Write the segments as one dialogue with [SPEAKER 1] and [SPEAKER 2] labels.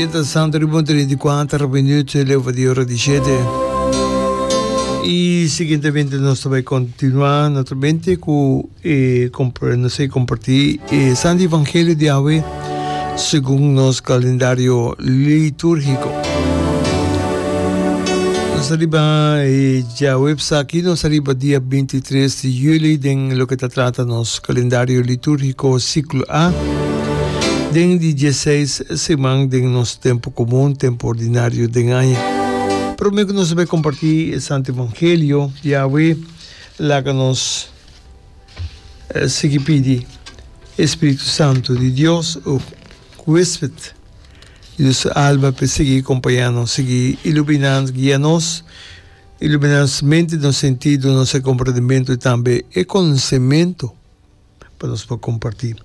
[SPEAKER 1] Mientras tanto riba un 34 minuut leu di ora di shete. Y siguientemente nos ta bay continua naturalmente cu e nos ta comparti e Santo Evangelio di awe segun nos calendario liturgico. Nos ta riba e djaweps aki, nos ta riba dia 23 di juli den loke ta trata nos Kalendario litúrgiko Siklo A, Den di dieseis siman den nos tempu komun, tempu ordinario den aña. Promé ku nos bai kompartí e Santu Evangelio di awe, laga nos sigui pidi e Spiritu Santu di Dios, o huésped di nos alma, pa e sigui kompañá nos, sigui iluminá nos, guia nos. Iluminá nos mente, nos sentido, nos e komprendementu i tambe e konosementu pa nos por kompartí.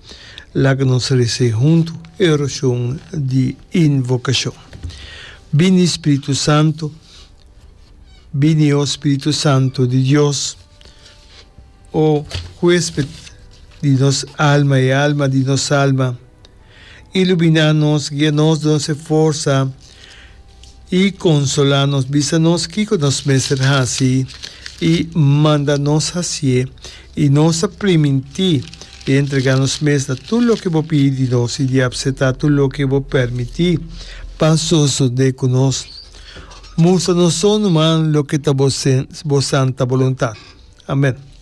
[SPEAKER 1] Laga nos resa huntu e orashon di invokashon. Bini Spiritu Santu, bini o Spiritu Santu di Dios, o huésped di nos alma i alma di nos alma. Iluminá nos, guia nos, duna nos e forsa i konsolá nos. Bisa nos kiko nos mester hasi i manda nos hasié. I nos ta primintí di entregá nos mes na tur loke bo pidi di nos i di apseptá tur loke bo permití pa sosodé ku nos. Mustra nos so numa loke ta bo santa boluntat. Amèn.